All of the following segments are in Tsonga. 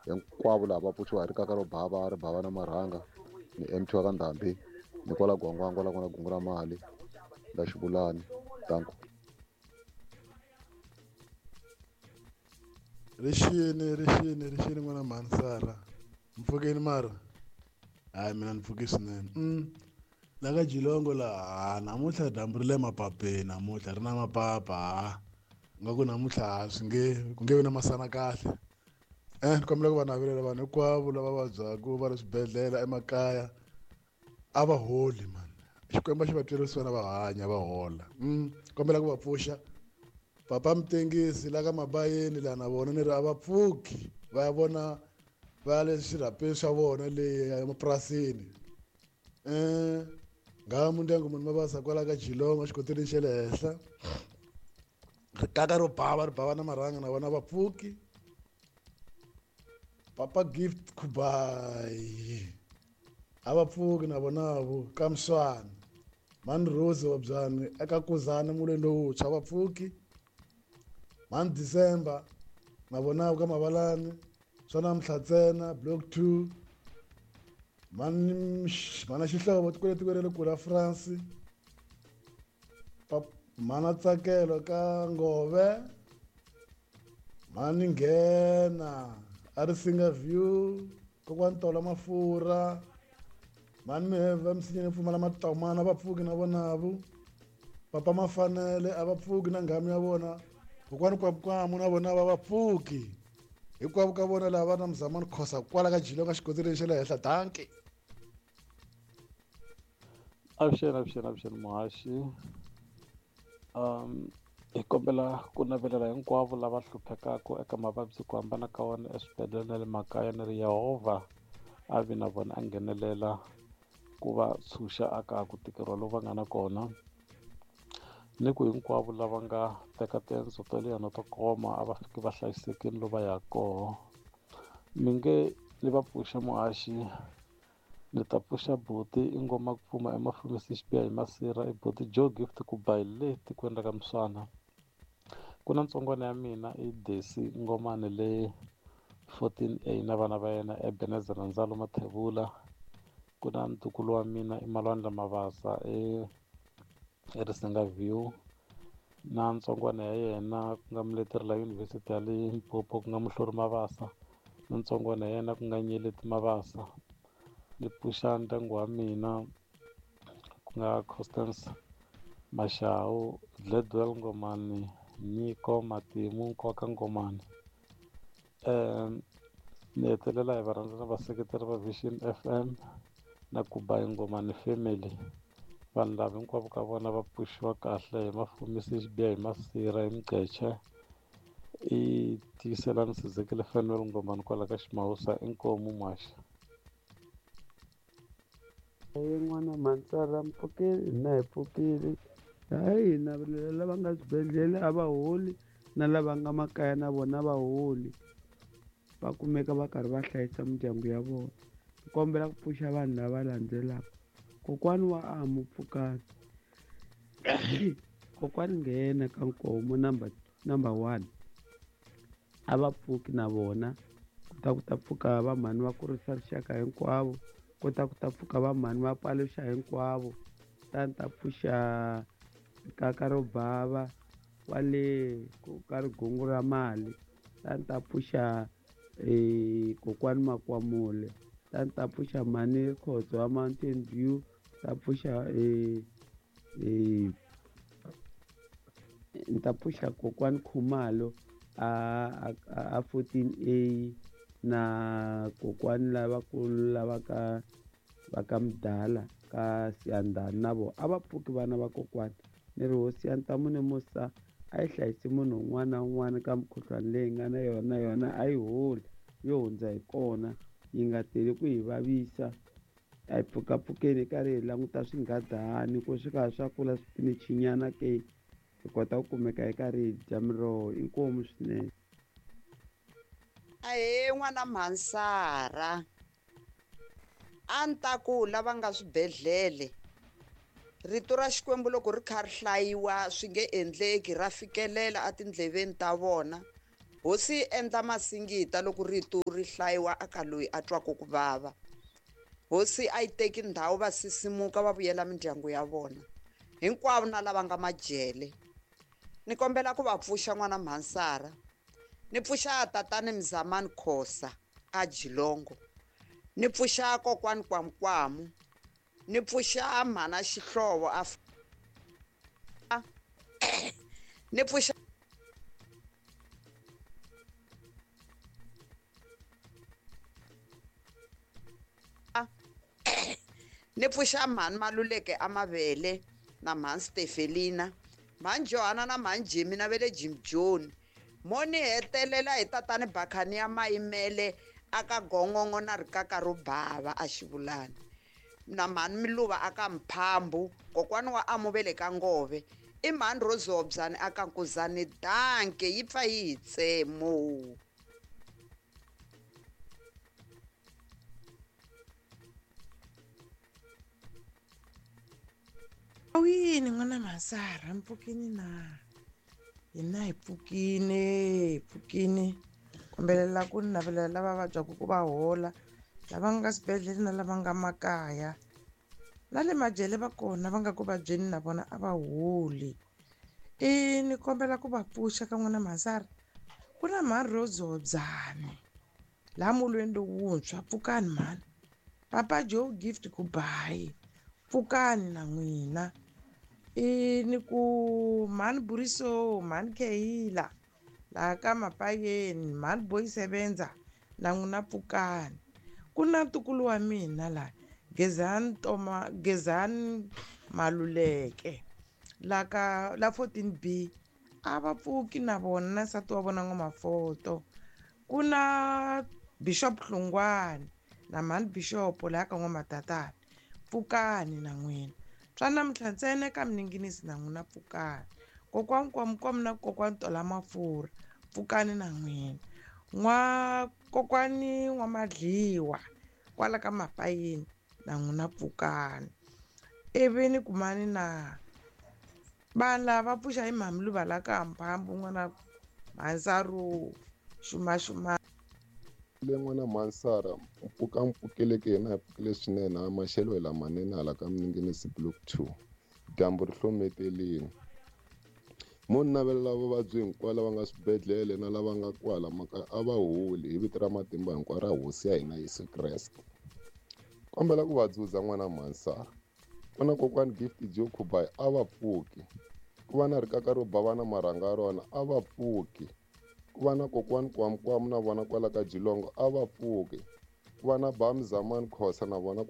Hinkwavo lava va pfuxiwa hi rikaka ro bava ri bava na marhanga ni MT wa ka Ndhambi ni kwala Gwangwangwa la ku na gungu ra mali la Xivulani. Danko. Rixini rixini rixini n'wana mhani Sara mpfukeni mara hayi mina ni pfuke swinene la ka Jilongo laha namuntlha dyambu ri le mapapeni namuntlha ri na mapapa ha nga ku namuntlha ha swi nge ku nge vi na masana kahle ni kombela ku va navelela vanhu hinkwavo lava vabyaka va ri swibedhlele emakaya a va holi mani Xikwembu xi va twela vusiwana va hanya va hola kombela ku va pfuxa papa Mutengisi la ka Mabayeni laha na vona ni ri a va pfuki va ya vona va ya le swirhapeni swa vona le emapurasini ngamu ndyangu munhu mavasa kwala ka Jilongo xikoteleni xa le henhla rikaka ro bava ri bava na marhanga na vona va pfuki papa Gift Kubayi a va pfuki na vona vo ka Mswana mani Rose wa byani eka Kuzana mulweni lowuntshwa va pfuki mani December na vona ka Mavalani swa namuntlha ntsena block 2 mani mana Xihlovo tiko tiko ra le kule France mana Tsakelo ka Ngove mani Nghena a ri Singa View kokwani Tola Mafurha mani Miheva misinyeni pfumala matomana va pfuki na vonavo papa Mafanele a va pfuki na nghamu ya vona kokwani Kwamukwamu na vona va va pfuki hinkwavo ka vona lava va na Mzamani Khosa kwala ka Jilo ka xikoteleni xa le henhla. Danki. Avuxeni avuxeni avuxeni muhaxi hi kombela ku navelela hinkwavo lava hluphekaka eka mavabyi ku hambana ka wona eswibedhlele na le makaya ni ri Yehovha a vi na vona a nghenelela ku va tshunxa aka ku tikeriwa lowu va nga na kona ni ku hinkwavo lava nga teka tiendzo to leha na to koma a va fiki va hlayisekile lo va yaka koho mi nge ni va pfuxa muhaxi ni ta pfuxa buti i ngoma ku pfuma emafumisi xibiha hi masirha i buti Joe Gift ku ba hi le tikweni ra ka Mswana ku na ntsongwana ya mina i Desi Ngomane le 14A na vana va yena Ebenezer na Ndzalo Mathebula ku na ntukulu wa mina i Malwandla Mabasa e Risinga View na ntsongwana ya yena ku nga muleteri la University ya Limpopo ku nga Muhluri Mabasa na ntsongwana ya yena ku nga Nyeleti Mabasa ni pfuxa ndyangu wa mina ku nga Constance Mashau Gladwell Ngomani Nyiko Matimu Nkoka Ngomani ni hetelela hi varhandza na vaseketeri va Vision FM na Kubayi Ngomani family vanhu lava hinkwavo ka vona va pfuxiwa kahle hi mafumisi xibiha hi masirha hi mugqeche i tiyiselani Sizekile Fanuel Ngomani kwala ka Ximawusa inkomu muhaxi. Yin'wana Mhantsara mpfukile hina hi pfukile hayi hina lava nga swibedhlele a va holi na lava nga makaya na vona va holi va kumeka va karhi va hlayisa mindyangu ya vona. Ni kombela ku pfuxa vanhu lava landzelaka kokwani wa Amu Pfukani kokwani Nghena ka Nkomo number 1 a va pfuki na vona ku ta ku ta pfuka va mhani va kurisa rixaka hinkwavo ku ta ku ta pfuka va mhani va paluxa hinkwavo ta ni ta pfuxa kaka ro bava kwale ka rigungu ra mali ta ni ta pfuxa kokwani Makwamule ta ni ta pfuxa mhani Khotso wa Mountain View ta pfuxa ni ta pfuxa kokwani Khumalo a 14A na kokwani lavakulu lava ka va ka Mdala ka Siyandhani na vona a va pfuki vana va kokwani ni ri hosi ya ntamu ni musa a yi hlayisi munhu un'wana na un'wana ka mukhuhlwani leyi nga na yona yona a yi holi yo hundza hi kona yi nga teli ku hi vavisa a hi pfukapfukeni karhi hi languta swinghadani ku swi ka swa kula swipinichinyana ke hi kota ku kumeka hi karhi hi dya miroho inkomu swinene. Ahee n'wana Mhansara a ni ta ku lava nga swibedhlele rito ra Xikwembu loko ri kha ri hlayiwa swi nge endleki ra fikelela etindleveni ta vona Hosi yi endla masingita loko rito ri hlayiwa aka loyi a twaka ku vava. Hosi a yi teki ndhawu, va sisimuka va vuyela mindyangu ya vona hinkwavo na lava nga majele. Ni kombela ku va pfuxa n'wana Mhansara, ni pfuxa tatani Mzamani Khosa a Jilongo, ni pfuxa kokwani Kwamkwamu, ni pfuxa mhana Xihlovo a ni pfuxa ni pfuxa mhani Maluleke a Mavele na mhani Stefelina, mhani Johana na mhani Jimmy na vele Jim John. Mo ni hetelela hi tatani Bakhani ya Mayimele aka Gongongo na rikaka ro bava a Xivulani, na mhani Miluva aka Mphambu, kokwani wa Amuvele ka Ngove, i mhani Rozobyani aka Nkuzani. Danke, yi pfa yi hi tsemo. Awini n'wana Mhansara, mpfukini na hina hi pfukile, hi pfukile. Kombelela ku navelela lava vabyaka ku va hola, lava nga swibedhlele na lava nga makaya, na le majele va kona va nga ku vabyeni na vona a va holi. I ni kombela ku va pfuxa ka n'wana Mhansara, ku na mhani Rozobyani laha mulweni lowuntshwa, pfukani mhani. Papa Joe Gift Kubayi, pfukani na n'wina. I ni ku mhani Buriso, mhani Kehila laha ka Mapayeni, mhani Boy Sebenza na n'wina pfukani. Ku na ntukulu wa mina laha Gezani Toma, Gezani Maluleke la ka la 14B, a va pfuki na vona na nsati wa vona N'wamafoto. Ku na Bishop Hlungwani na mhani Bishop laha ka N'wamatatana, pfukani na n'wina. Swa namuntlha ntsena ka Mininginisi na n'wina pfukani. Kokwani Kwamukwamu na kokwani Tola Mafurha, pfukani na n'wina. N'wa kokwani N'wamadliwa kwala ka Mapayeni na n'wina pfukani. Ivi ni kumani na vanhu lava pfuxa hi Mhamiluva la ka Mphambu, n'wana Mhansaru xumaxuma. Le n'wana Mhansara, mpfuka mpfukeleke hina hi pfukile swinene, a maxelo hi lamanene hala ka Mininginisi block 2, dyambu ri hlometelini. Mo ni navelela vavabyi hinkwavo lava nga swibedhlele na lava nga kwala makaya a va holi hi vito ra matimba hinkwaro ra hosi ya hina Yesu Kreste. Kombela ku va dzudza n'wana Mhansara, ku na kokwani Gift Joe Kubayi a va pfuki, ku va na rikaka ro bava na marhanga ya rona a va pfuki, ku va na kokwani Kwamukwamu na vona kwala ka Jilongo a va pfuki, ku va na Bami Zamani Khosa na vona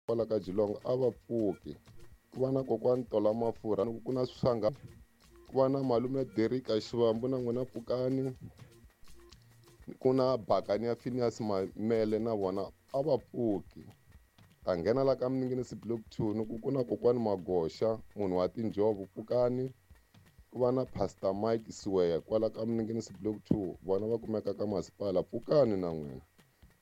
kwala ka Jilongo a va pfuki, ku va na kokwani Tola Mafurha, ku na Swanga, ku va na malume Derika Xivambu na n'wina pfukani, ku na Bakani ya Phineas Mamele na vona a va pfuki. Ta nghena la ka Mininginisi block 2 ni ku na kokwani Magoxa munhu wa tinjhovo, pfukani. Ku va na Pastor Mike Siweya kwala ka Mininginisi block 2, vona va kumeka ka masipala, pfukani na n'wina.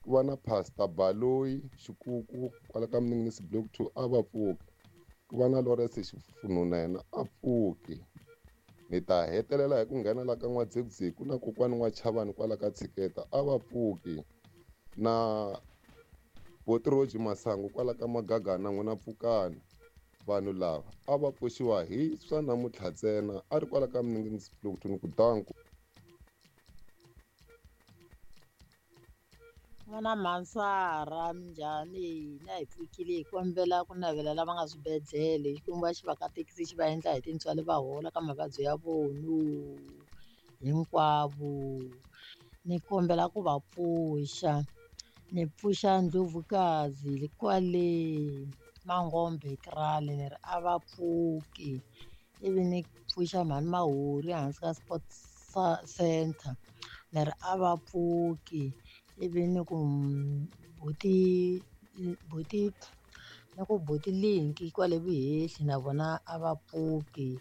Ku va na Pastor Baloyi Xikuku kwala ka Mininginisi block 2 a va pfuki, ku va na Lawrence Xifunhu na yena a pfuki. Ni ta hetelela hi ku nghena la ka N'wadzekuzeku na kokwani N'wachavani kwala ka Tshiketa a va pfuki, na Botiroji Masangu kwala ka Magagana n'wina pfukani. Vanhu lava a va pfuxiwa hi swa namuntlha ntsena, a ri kwala ka Mininginisi block 2 ni ku danku. N'wana Mhansara, minjhani? Hina hi pfukile, hi kombela ku navela lava nga swibedhlele, Xikwembu a xi va katekisi xi va endla hi tintswalo va hola ka mavabyi ya vona hinkwavo. Ni kombela ku va pfuxa, ni pfuxa Ndlovukazi kwale Mangombe Krale, ni ri a va pfuki. Ivi ni pfuxa mhani Mahori hansi ka Sport Center, ni ri a va pfuki. Ivi ni ku buti buti ni ku buti Linki kwale Vuhehli na vona a va pfuki.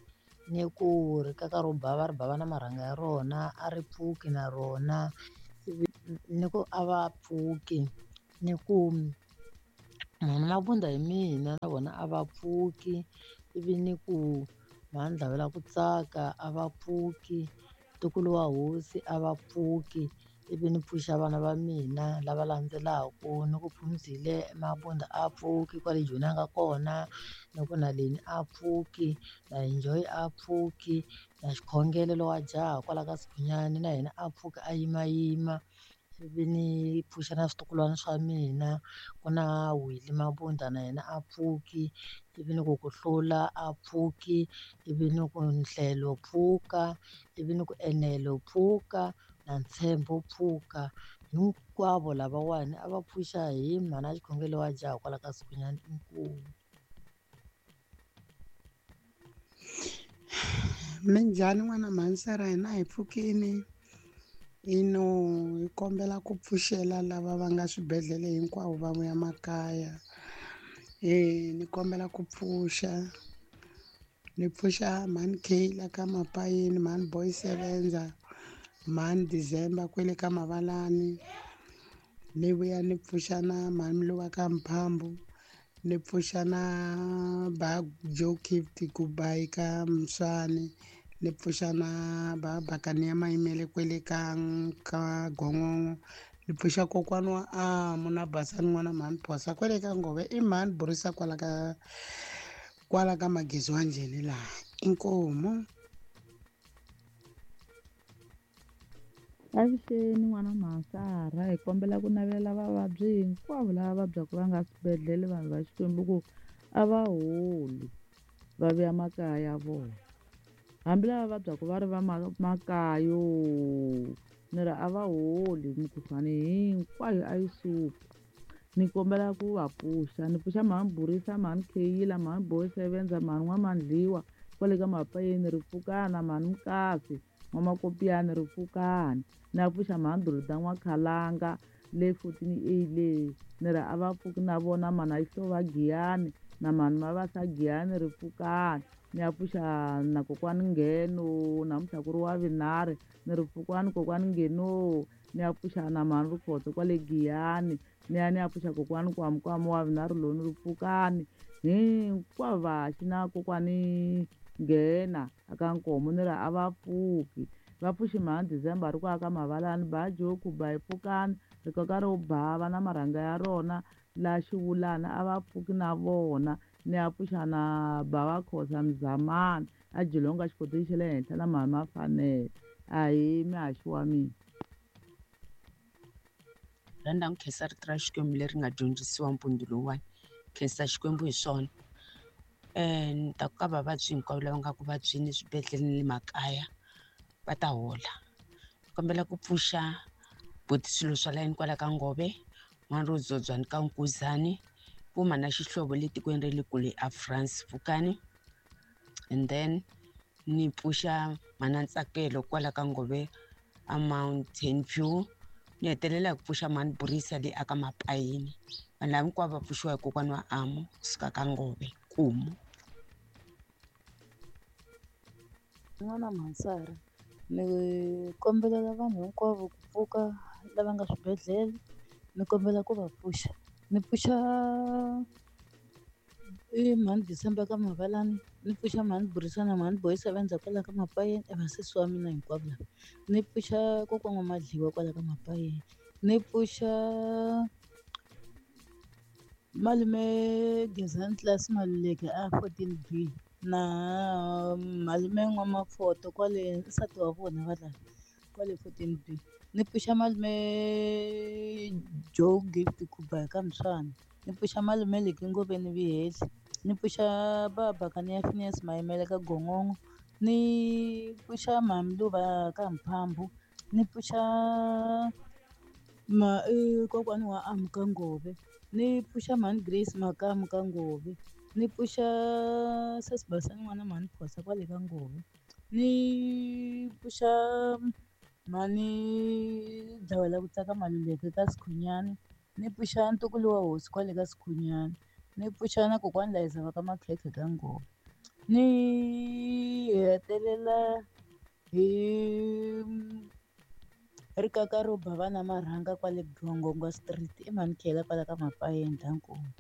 Ni ku rikaka ro bava ri bava na marhanga ya rona a ri pfuki na rona. Ivi ni ku a va pfuki. Ni ku Mhani Mabunda hi mina na vona a va pfuki, ivi ni ku mhani Dlavela ku tsaka a va pfuki, ntukulu wa hosi a va pfuki, ivi ni pfuxa vana va mina lava landzelaku ni ku Phumzile Mabunda a pfuki kwale Joni a nga kona, ni ku na Leni a pfuki, na Enjoy a pfuki, na Xikhongelo lowa jaha kwala ka Sikhunyani na yena a pfuki a yimayima. Ivi ni pfuxa na switukulwana swa mina, ku na Willy Mabunda na yena a pfuki, ivi ni ku ku hlula a pfuki, ivi ni ku Nhlelo pfuka, ivi ni ku Enelo pfuka na Ntshembo pfuka. Hinkwavo lavawani a va pfuxa hi mhana Xikhongelo wa jaha kwala ka Sikhunyani. Inkomu. Minjhani n'wana mhani hina hi pfukini ino hi kombela ku pfuxela lava va nga swibedhlele hinkwavo va vuya makaya. Ni kombela ku pfuxa ni pfuxa mhani Kayla ka Mapayeni, mhani Boy Sevenza, mhani December kwele ka Mavalani. Ni vuya ni pfuxa na mhani Mluva ka Mphambu, ni pfuxa na ba Joe Gift Kubayi ka Mswani, ni pfuxa na ba Bakani ya Mayimele kwele ka Gongongo, ni pfuxa kokwani wa Amu na Basani n'wana mhani Phosa kwele ka Ngove, i mhani Burisa kwala ka Magezi wa Njheni laha. Inkomu. Avuxeni n'wana Mhasara, hi kombela ku navela vavabyi hinkwavo lava vabyaka va nga swibedhlele vanhu va Xikwembu ku a va holi va vuya makaya ya vona. Hambi lava vabyaka va ri va makayo ni ri a va holi mukhuhlwani hinkwayo a yi suki. Ni kombela ku va pfuxa, ni pfuxa mhani Burisa, mhani Kheyila, mhani Boy Sevenza, mhani N'wamandliwa kwale ka Mapayeni ri pfukana, mhani Mukasi N'wamakopiyani ri pfukani. Na pfuxa mhani Dorota N'wakhalanga le 14A le ni ri a va pfuki na vona, mhani Ayihlova Giyani na mhani Mavasa Giyani ri pfukani. Ni ya pfuxa na kokwani Ngheno namuntlha ku ri wa vunharhu ni ri pfukani kokwani Ngheno. Ni ya pfuxa na mhani Rikhotso kwale Giyani, ni ya pfuxa kokwani Kwamukwamu wa vunharhu lowu ni ri pfukani. Hinkwavo vaxi na kokwani Nghena aka Nkomo ni ri a va pfuki. Va pfuxi mhani December ri ku aka Mavalani, ba Joku ba hi pfukani, rikoka ro bava na marhanga ya rona la xivulana a va pfuki na vona. Ni ya pfuxa na bava Khosa Mzamani a Jilonga xikotini xa le henhla na mhani Mafanele. Ahee mihaxi wa mina. Rhandza ku khensa rito ra Xikwembu leri nga dyondzisiwa mpundzu lowuwani, khensa Xikwembu hi swona. Ni ta ku ka vavabyi hinkwavo lava nga ku vabyeni eswibedhlele ni le makaya va ta hola. Ni kombela ku pfuxa buti swilo swa layeni kwala ka Ngove, n'wana ro Dzodzwani ka Nkuzani, Puma na Xihlovo le tikweni ra le kule a France Pfukani. And then ni pfuxa mhana Ntsakelo kwala ka Ngove a Mountain View. Ni hetelela hi ku pfuxa mhani Burisa le aka Mapayeni. Vanhu lava hinkwavo va pfuxiwa hi kokwana wa Amu kusuka ka Ngove Nkumu. N'wana Mhansara, ni kombelela vanhu hinkwavo ku pfuka lava nga swibedhlele, ni kombela ku va pfuxa. Ni pfuxa i mhani December ka Mavalani, ni pfuxa mhani Burisa na mhani Boy Sevenza kwala ka Mapayeni, i vasesi wa mina hinkwavo lava. Ni pfuxa kokwana wa Madliwa kwala ka Mapayeni, ni pfuxa malume Gezani Class Maluleke a 14B na malume N'wamafoto kwale nsati wa vona va lava kwale 14B. Ni pfuxa malume Joe Gift Kuba ka Mswana, ni pfuxa malume Leki Ngoveni Vihehli, ni pfuxa baba Kaniya Phineas Mayimele ka Gongongo, ni pfuxa mhani Luva ka Mphambu, ni pfuxa kokwani wa Amu ka Ngove, ni pfuxa mhani Grace Makamu ka Ngove, ni pfuxa sesi Basani n'wana mhani Phosa kwale ka Ngove, ni pfuxa mhani Dlawela ku tsaka Maluleke ka Sikhunyani, ni pfuxa ntukulu wa hosi kwale ka Sikhunyani, ni pfuxa na kokwani Layiza va ka Makhekhe ka Ngove. Ni hetelela hi rikaka ro ba vana marhanga kwale Gongongo Street, i mhani Khela kwala ka Mapayeni Nkomu.